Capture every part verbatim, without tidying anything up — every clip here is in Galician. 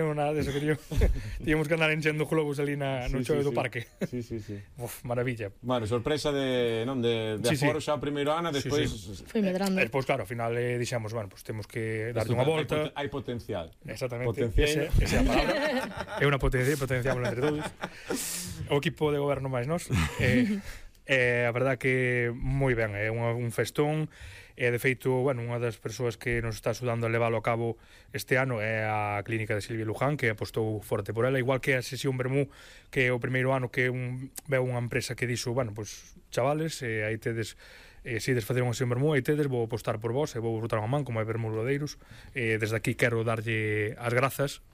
Non nada deso, queríamos, tíamos que andar enchendo globos ali na, no Sí, choio sí, do sí. parque. Sí, sí, sí. Uf, maravilla. Bueno, sorpresa de, non, de, de Sí, sí. aforo xa o primeiro ano, Sí, despois... sí. Foi medrando. E despois, claro, ao final eh, dixemos, bueno, pues temos que darte Isto unha hai volta. poten- Hai potencial. Exactamente. Potencial. Ese, esa é a palabra. É unha potencia, potenciamos entre todos. O equipo de goberno máis nós. Eh, eh, a verdad que moi ben, é unha, un festón. E, de feito, bueno, unha das persoas que nos está axudando a leválo a cabo este ano é a clínica de Silvia Luján, que apostou forte por ela, igual que a sesión Bermú, que é o primeiro ano que un, veu unha empresa que dixo, bueno, pues, chavales, eh, aí tedes, eh, se ides facer unha sesión Bermú, aí tedes, vou apostar por vos, e vou botar unha man, como é Bermú Lodeiros. Eh, desde aquí quero darlle as grazas,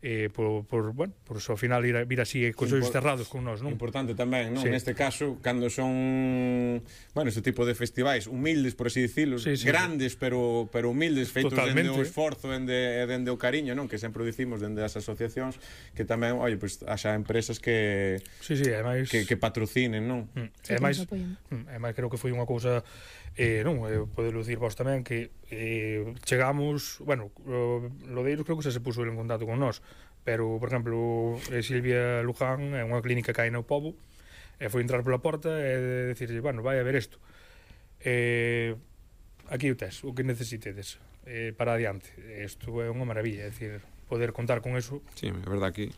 eh, por, por, bueno, por ao final ir a, vir así cos ollos Impor- cerrados con nós, non? Importante tamén, non? Sí. Neste caso, cando son, bueno, este tipo de festivais humildes, por así dicilo, Sí, sí, grandes, sí. pero pero humildes, feitos Totalmente. dende o esforzo, dende, dende o cariño, non? Que sempre o dicimos dende as asociacións, que tamén, oye, pois, pues, haxa empresas que Sí, sí, ademais... que, que patrocinen, non? Mm. Sí, E máis, que nos apoien. mm, e máis creo que foi unha cousa eh, non, eh, podelo dicir vos tamén que eh, chegamos, bueno, o Lodeiros creo que xa se puso en contacto con nós, pero, por exemplo, eh, Silvia Luján é unha clínica que hai no Pobo, e foi entrar pola porta e decirlle, bueno, vai a ver isto. Eh, aquí o tes, o que necesitedes eh, para adiante. Isto é unha maravilla, é dicir, poder contar con eso. Sí, é verdad que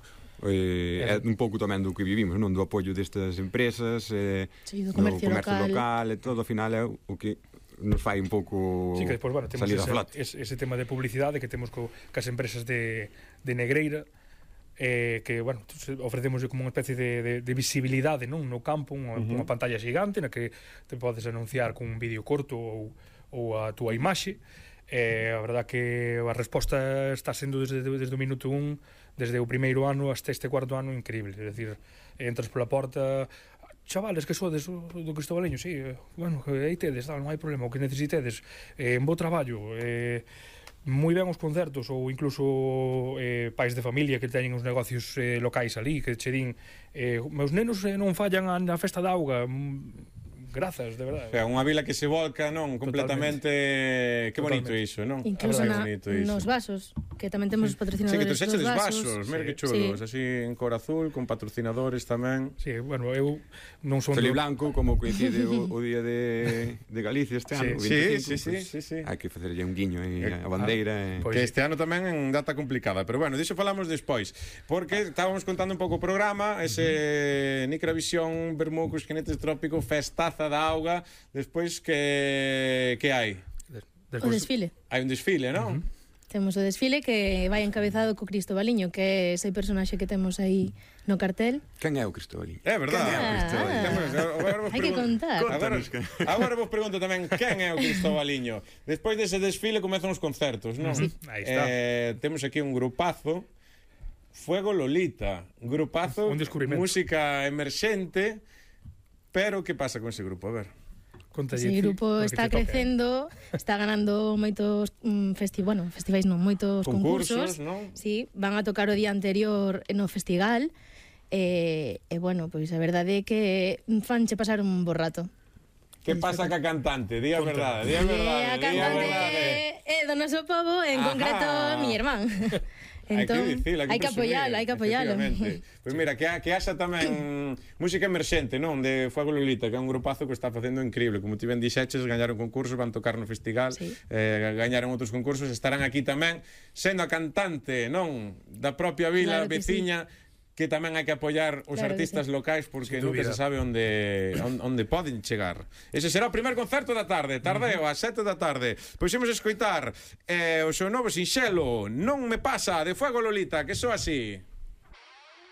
eh, é un pouco tamén do que vivimos, non? Do apoio destas empresas, eh, Sí, do comercio do comercio local. local, e todo, ao final é o que nos fai un pouco Sí, que despois, bueno, temos salir a ese, flote. ese, ese tema de publicidade que temos co, cas empresas de, de Negreira, eh, que, bueno, ofrecemos como unha especie de, de, de visibilidade, non? No campo, unha, uh -huh. unha pantalla xigante na que te podes anunciar con un vídeo corto ou, ou a túa imaxe. Eh, a verdad que a resposta está sendo desde, desde o minuto un, desde o primeiro ano hasta este cuarto ano increíble, é dicir, entras pola porta, chavales, que sodes do Cristobaleño, sí, eh, bueno, aí tedes, tal, non hai problema, o que necesitedes, eh, en bo traballo, eh, moi ben os concertos, ou incluso eh, pais de familia que teñen os negocios eh, locais ali, que che din, eh, meus nenos eh, non fallan na festa da auga, mm, grazas, de verdade. O sea, unha vila que se volca, non? Completamente... Que bonito Totalmente. iso, non? Incluso Que na, bonito iso. nos vasos, que tamén temos os Sí, patrocinadores que trouxeches dos vasos. vasos, mira que Sí. chulos, Sí. así en cor azul, con patrocinadores tamén. Sí, bueno, eu non son... Feliz do- Blanco, como coincide o, o día de, de Galicia este Sí, ano, o sí, veinticinco, sí, sí, pues, sí, sí. hai que facerlle un guiño aí Eh, a bandeira. pois Que sí. este ano tamén en data complicada, pero bueno, diso falamos despois, porque estábamos contando un pouco o programa, ese Nicravisión Bermú cos jinetes trópico, festaza da auga, despois que que hai? Des- O despois- desfile. Hai un desfile, non? Temos o desfile que vai encabezado co Cristobaliño, que é ese personaxe que temos aí no cartel. Quen é o Cristóbal? É verdade. Ah. Temos- agora vos Hai que pregunto- contar. Agora, agora vos pregunto tamén quen é o Cristobaliño. Despois dese desfile comezan os concertos, non? Sí. Aí está. Eh, temos aquí un grupazo, Fuego Lolita, grupazo, Un descubrimento. música emerxente, pero que pasa con ese grupo? A ver. Contalle Ese ti, grupo porque está te toca. crecendo, está ganando moitos mm, festi bueno, festivais non, moitos Concursos, concursos. non? Sí, van a tocar o día anterior no festival. E, e bueno, pois a verdade é que fanche pasar un bo rato. Que pasa ca cantante? Di a verdade, di a E verdade, a di a cantante verdade. é do noso povo, en Ajá. concreto mi irmán. hai Entón, que dicilo, hai que, hai que apoialo, hai que apoialo. Pois mira, que, ha- que haxa tamén música emerxente, non? De Fuego Lolita, que é un grupazo que está facendo increíble. Como ti ben dixeches, gañaron concursos, van tocar no festival, Sí. eh, gañaron outros concursos, estarán aquí tamén, sendo a cantante, non? Da propia vila Claro que veciña, que tamén hai que apoiar os Claro que artistas sí. locais porque Sin nunca dúbida. se sabe onde, onde, onde poden chegar. Ese será o primer concerto da tarde, tardeo, ás sete da tarde. Pois imos escoitar eh, o seu novo sinxelo, Non me pasa, de Fuego Lolita, que só así.